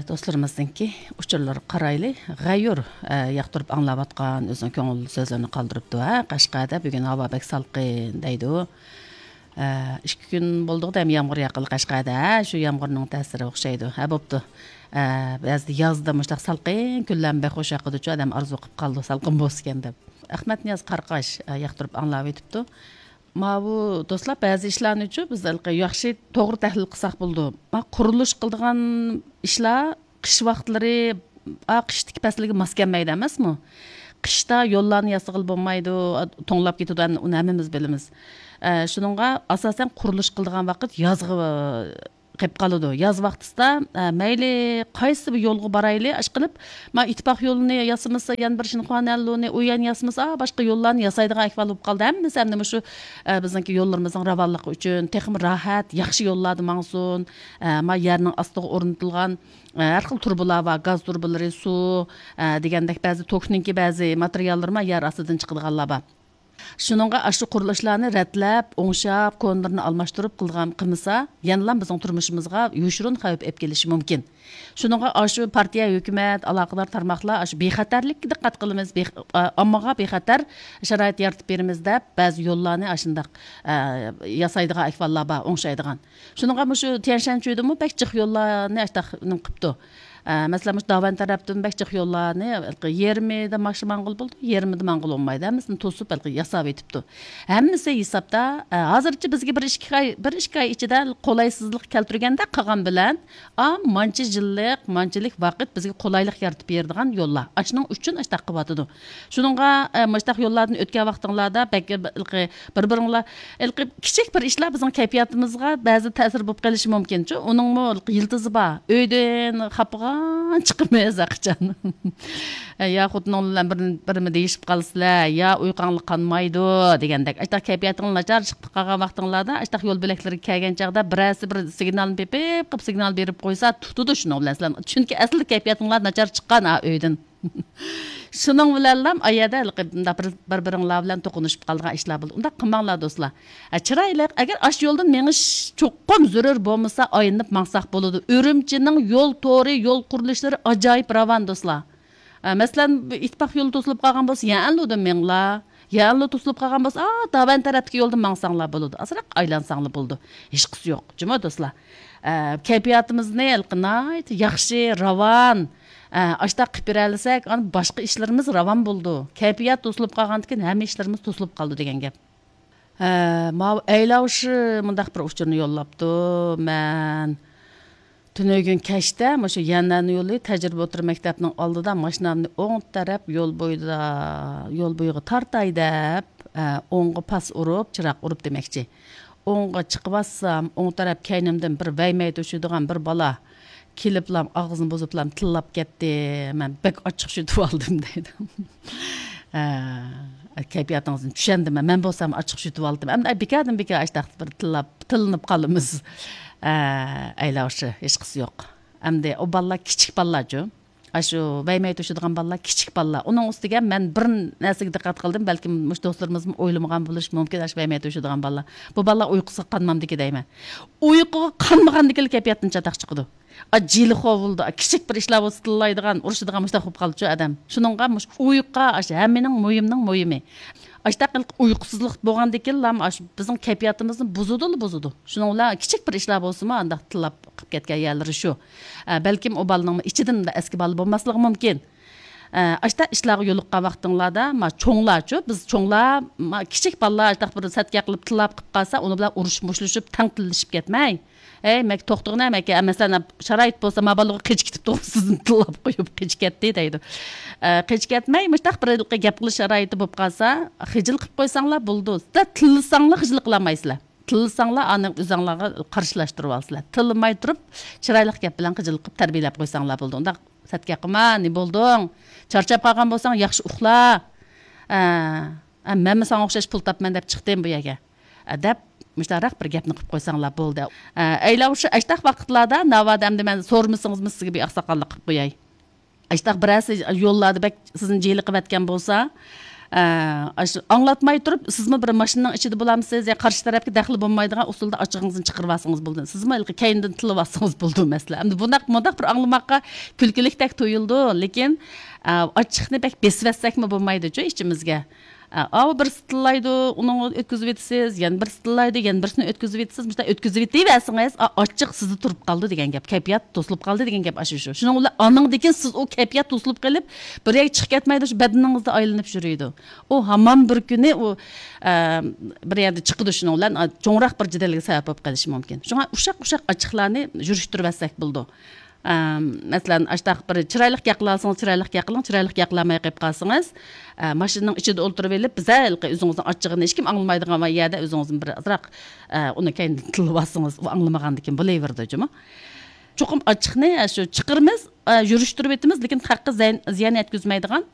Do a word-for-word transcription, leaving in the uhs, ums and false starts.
دوستلىرىمىزنىڭكى ئۇچۇرلىرىغا قارايلى. غەيۇر، ئە، ياقتۇرۇپ ئاڭلاۋاتقان، ئۆزىنىڭ كۆڭۈل سۆزلىرىنى قالدۇرۇپتۇ. ھە، قەشقەردە بۈگۈن ھاۋا بەك سالقىن دەيدۇ. ئە، ئىككى كۈن بولدىغۇ دەم يامغۇر ياققىلى قەشقەردە. ھە، شۇ يامغۇرنىڭ تەسىرى ئوخشايدۇ. ھە، بوپتۇ. ئە، بەزىدە يازدا مۇشۇنداق سالقىن كۈنلەرمۇ بەك خۇش ياقىدۇچۇ، ئادەم ئارزۇ قىلىپ قالىدۇ، سالقىن بولسىكەن دەپ. ئەخمەتنىياز قارقاش، ئە، ياقتۇرۇپ ئاڭلاۋېتىپتۇ. ماۋۇ دوستلار، بەزى ئىشلارنىچۇ بىز ھېلىقى ياخشى توغرا تەھلىل قىلساق بولىدۇ. ما قۇرۇلۇش قىلىدىغان ئىشلار قىش ۋاقىتلىرى، ئا، قىشتىكى پەسىلگە ماس كەلمەيدۇ ئەمەسمۇ؟ قىشتا يوللارنى ياسىغىلى بولمايدۇ، توڭلاپ كېتىدۇ، ئۇنى ھەممىمىز بىلىمىز. ئە، شۇنىڭغا ئاساسەن قۇرۇلۇش قىلىدىغان ۋاقىت يازغا قېلىپ قالىدۇ. ياز ۋاقتىسىدا، ئە، مەيلى قايسى بىر يولغا بارايلى، ئىشقىلىپ، ما ئىتتىپاق يولىنى ياسىمىسا، يەنە بىر شىنخۇا نەنلۇنى، ئۇ يەرنى ياسىمىسا، باشقا يوللارنى ياسايدىغان ئەھۋال بولۇپ قالدى. ھەممىسى ئەمدى مۇشۇ، ئە، بىزنىڭكى يوللىرىمىزنىڭ راۋانلىقى ئۈچۈن تېخىمۇ راھەت، ياخشى يوللاردا ماڭسۇن، ئە، ما يەرنىڭ ئاستىغا ئورنىتىلغان، ئە، ھەر خىل تۇرۇبىلار بار، گاز تۇرۇبىلىرى، سۇ، ئە، دېگەندەك بەزى توكنىڭكى بەزى ماتېرىياللىرى ما يەر ئاستىدىن چىقىدىغانلار بار. شۇنىڭغا ئاشۇ قۇرۇلۇشلارنى رەتلەپ، ئوڭشاپ، كونىلىرىنى ئالماشتۇرۇپ قىلغان، قىلمىسا، يەنىلا بىزنىڭ تۇرمۇشىمىزغا يوشۇرۇن خەۋپ ئېلىپ كېلىشى مۇمكىن. شۇنىڭغا ئاشۇ پارتىيە، ھۆكۈمەت، ئالاقىدار تارماقلار ئاشۇ بىخەتەرلىككە دىققەت قىلىمىز، بىخ-، ئا-، ئاممىغا بىخەتەر شارائىت يارىتىپ بېرىمىز دەپ، بەزى يوللارنى ئاشۇنداق، ئە، ياسايدىغان ئەھۋاللار بار، ئوڭشايدىغان. شۇنىڭغا مۇشۇ تيەنشەنچۈيدىمۇ بەك جىق يوللارنى ئاشۇنداق نېمە قىپتۇ. ئە، مەسىلەن، مۇشۇ داۋەن تەرەپتىن بەك جىق يوللارنى ھېلىقى يېرىمىدا ماش ماڭغىلى بولىدۇ، يېرىمىدا ماڭغىلى بولمايدۇ. ھەممىسىنى توسۇپ، ھېلىقى ياساۋېتىپتۇ. ھەممىسى ھېسابتا، ئە، ھازىرچە بىزگە بىر ئىككى ئاي، بىر ئىككى ئاي ئىچىدە قولايسىزلىق كەلتۈرگەندەك قىلغان بىلەن، ئا، مانچە يىللىق، مانچىلىك ۋاقىت بىزگە قولايلىق يارىتىپ بېرىدىغان يوللار. ئاشۇنىڭ ئۈچۈن ئاشۇنداق قىلىۋاتىدۇ. شۇنىڭغا، ئە، مۇشۇنداق يوللاردىن ئۆتكەن ۋاقتىڭلاردا بەك ھېلىقى بىر-بىرىڭلار، ھېلىقى كىچىك بىر ئىشلار بىزنىڭ كەيپىياتىمىزغا بەزى تەسىر بولۇپ قېلىشى مۇمكىنچۇ. ئۇنىڭمۇ ھېلىقى يىلتىزى بار. ئۆيدىن خاپىغان چىقىمىز ھەرقاچان. يا خوتۇنۇڭ بىلەن بىر، بىرمە دېيىشىپ قالىسىلەر، يا ئۇيقۇڭلار قانمايدۇ دېگەندەك. ئاشۇنداق كەيپىياتىڭلار ناچار چىقىپ قالغان ۋاقتىڭلاردا، ئاشۇنداق يول بۆلەكلىرىگە كەلگەن چاغدا بىرەرسى بىر سىگنالنى پېپىپ قىلىپ، سىگنال بېرىپ قويسا، تۇتىدۇ شۇنىڭ بىلەن سىلەر. چۈنكى ئەسلىدە كەيپىياتىڭلار ناچار چىققان ھا ئۆيدىن. شۇنىڭ بىلەنلا ئا يەردە ھېلىقى مۇنداق بىر، بىر-بىرىڭلار بىلەن توقۇنۇشۇپ قالىدىغان ئىشلار بولىدۇ. ئۇنداق قىلماڭلار، دوستلار. ئە، چىرايلىق، ئەگەر ئاشۇ يولدىن مېڭىش چوقۇم زۆرۈر بولمىسا، ئايلىنىپ ماڭساق بولىدۇ. ئۈرۈمچىنىڭ يول تورى، يول قۇرۇلۇشلىرى ئاجايىپ راۋان، دوستلار. ئە، مەسىلەن، بۇ ئىتتىپاق يولى توسۇلۇپ قالغان بولسا، يەنلۇدىن مېڭىڭلار. يەنلۇ توسۇلۇپ قالغان بولسا، ئا، داۋەن تەرەپتىكى يولدىن ماڭساڭلار بولىدۇ. ئازراق ئايلانساڭلار بولىدۇ. ھېچقىسى يوق. جۇمۇ، دوستلار. ئە، كەيپىياتىمىزنى ھېلىقى ناھايىتى ياخشى، راۋان، ئە، ئاشتاق قىلىپ بېرەلىسەك، ئانا باشقا ئىشلىرىمىز راۋان بولىدۇ. كەيپىيات توسۇلۇپ قالغاندىكىن ھەممە ئىشلىرىمىز توسۇلۇپ قالىدۇ دېگەن گەپ. ھە، ماۋۇ ئەيلاۋشى مۇنداق بىر ئۇچۇرنى يوللاپتۇ. مەن تۈنۈگۈن كەچتە مۇشۇ يەنئەن يولى تەجرىبە ئوتتۇرا مەكتەپنىڭ ئالدىدا ماشىنامنى ئوڭ تەرەپ يول بويىدا، يول بويىغا تارتاي دەپ، ئە، ئوڭغا پاس ئۇرۇپ، چىراغ ئۇرۇپ دېمەكچى. ئوڭغا چىقىۋاتسام، ئوڭ تەرەپ كەينىمدىن بىر ۋەيمەي توشۇيدىغان بىر بالا كېلىپلام ئاغزىنى بۇزۇپلام تىللاپ كەتتى. مەن بەك ئاچچىق يۇتۇۋالدىم دەيدۇ. ئە، كەيپىياتىڭىزنى چۈشەندىم. مەن بولسام ئاچچىق يۇتۇۋالدىم. ئەمدى بىكاردىن بىكار ئاشتاق بىر تىللاپ، تىللىنىپ قالىمىز. ئە، ئەيلاۋشى، ھېچقىسى يوق. ئەمدى ئۇ بالىلار كىچىك بالىلارچۇ. ئاشۇ ۋەيمەي توشۇيدىغان بالىلار كىچىك بالىلار. ئۇنىڭ ئۈستىگە مەن بىر نەرسىگە دىققەت قىلدىم. بەلكىم مۇشۇ دوستلىرىمىزمۇ ئويلىمىغان بولۇشى مۇمكىن، ئاشۇ ۋەيمەي توشۇيدىغان بالىلار. بۇ بالىلار ئۇيقۇسىغا قانمامدىكى دەيمەن. ئۇيقۇغا قانمىغاندىكىلا كەيپىياتتىن چاتاق چىقىدۇ. ئا، جىلىخو بولىدۇ. ئا، كىچىك بىر ئىشلار بولسا تىللايدىغان، ئۇرۇشىدىغان مۇشۇنداق بولۇپ قالدىچۇ ئادەم. شۇنىڭغا مۇشۇ ئۇيقۇ ئاشۇ ھەممىنىڭ مۇھىمنىڭ مۇھىمى. ئاشۇنداق ئۇيقۇسىزلىق بولغاندىكىنلا ئاشۇ بىزنىڭ كەيپىياتىمىزنى بۇزىدۇلا بۇزىدۇ. شۇنىڭ بىلەن كىچىك بىر ئىشلار بولسىمۇ ئانداق تىللاپ قىلىپ كەتكەن يەرلىرى شۇ. ئە، بەلكىم ئۇ بالىنىڭ ئىچىدىن ئەسكى بالا بولماسلىقى مۇمكىن. ئە، ئاشۇنداق ئىشلارغا يولۇققان ۋاقتىڭلاردا، ما، چوڭلارچۇ، بىز چوڭلار، ما، كىچىك بالىلار ئاشۇنداق بىر سەتكە قىلىپ تىللاپ قىلىپ قالسا، ئۇنىڭ بىلەن ئۇرۇشۇپ، مۇشۇلۇشۇپ، تەڭ تىللىشىپ كەتمەي. ھەي، مەكە توختىغىنە، مەكە، مەسىلەن، شارائىت بولسا، ما بالىغا قېچىپ كېتىپتۇ، سىزنى تىللاپ قويۇپ قېچىپ كەتتى دەيدۇ. ئە، قېچىپ كەتمەي، مۇشۇنداق بىر ھېلىقى گەپ قىلىش شارائىتى بولۇپ قالسا، خىجىل قىلىپ قويساڭلار بولىدۇ. سىلەر تىللىساڭلار خىجىل قىلالمايسىلەر. تىللىساڭلار ئانى ئۆزۈڭلارغا قارشىلاشتۇرۇۋالىسىلەر. تىللىماي تۇرۇپ، چىرايلىق گەپ بىلەن خىجىل قىلىپ تەربىيەلەپ قويساڭلار بولىدۇ. ئۇنداق سەتكە قىلما، نېمە بولدۇڭ؟ چارچاپ قالغان بولساڭ، ياخشى ئۇخلا. ئە، ئە، مەنمۇ ساڭا ئوخشاش پۇل تاپىمەن دەپ چىقتىم بۇ يەرگە. ئە، دەپ، مۇشۇنداقراق بىر گەپنى قىلىپ قويساڭلار بولدى. ئە، ئەيلەۋشۇ ئاشتاق ۋاقىتلاردا ناۋادا ئەمدى مەن سورىمىسىڭىزمۇ سىزگە بىر ئاقساقاللىق قىلىپ قوياي. ئاشتاق بىرەرسى يوللاردا بەك سىزنى جىلىقىۋەتكەن بولسا، ئاشۇ ئاڭلاتماي تۇرۇپ، سىزمۇ بىر ماشىنىنىڭ ئىچىدە بولامسىز يا قارشى تەرەپكە دەخلى بولمايدىغان ئۇسۇلدا ئاچچىقىڭىزنى چىقىرىۋالسىڭىز بولدى. سىزمۇ ھېلىقى كەينىدىن تىللىۋالسىڭىز بولدى مەسىلە. ئەمدى بۇنداق، مۇنداق بىر ئاڭلىماققا كۈلكىلىكتەك تۇيۇلىدۇ، لېكىن، ئە، ئاچچىقنى بەك بېسىۋەتسەكمۇ بولمايدۇچۇ ئىچىمىزگە. ئە، ئاۋۇ بىرسى تىللايدۇ، ئۇنىڭغا ئۆتكۈزۈۋېتىسىز، يەنە بىرسى تىللايدۇ، يەنە بىرسىنى ئۆتكۈزۈۋېتىسىز. مۇشۇنداق ئۆتكۈزۈۋېتىۋەرسىڭىز، ئا، ئاچچىق سىزدە تۇرۇپ قالدى دېگەن گەپ، كەيپىيات توسۇلۇپ قالدى دېگەن گەپ ئاشۇ شۇ. شۇنىڭ بىلەن ئانىڭدىن كېيىن سىز ئۇ كەيپىيات توسۇلۇپ قېلىپ، بىر يەرگە چىقىپ كەتمەيدۇ، شۇ بەدىنىڭىزدە ئايلىنىپ يۈرىدۇ. ئۇ ھامان بىر كۈنى ئۇ، ئە، بىر يەردە چىقىدۇ، شۇنىڭ بىلەن، ئا، چوڭراق بىر جېدەلگە سەۋەب بولۇپ قېلىشى مۇمكىن. شۇڭا ئۇششاق-ئۇششاق ئاچچىقلارنى يۈرۈشتۈرۈۋەتسەك بولىدۇ. ئە، مەسىلەن، ئاشتاق بىر چىرايلىق گەپ قىلالىسىڭىز، چىرايلىق گەپ قىلىڭ، چىرايلىق گەپ قىلالماي قېلىپ قالسىڭىز، ئە، ماشىنىنىڭ ئىچىدە ئولتۇرۇۋېلىپ، بىزە ھېلىقى ئۆزىڭىزنىڭ ئاچچىقىنى ھېچكىم ئاڭلىمايدىغان يەردە ئۆزىڭىزنى بىر ئازراق، ئە، ئۇنى كەينىدىن تىللىۋالسىڭىز، ئۇ ئاڭلىمىغاندىكىن بولۇۋېرىدۇ جۇمۇ. چوقۇم ئاچچىقنى، ئە، شۇ چىقىرىمىز، ئە، يۈرۈشتۈرۈۋېتىمىز، لېكىن خەققە زىيان، زىيان يەتكۈزمەيدىغان،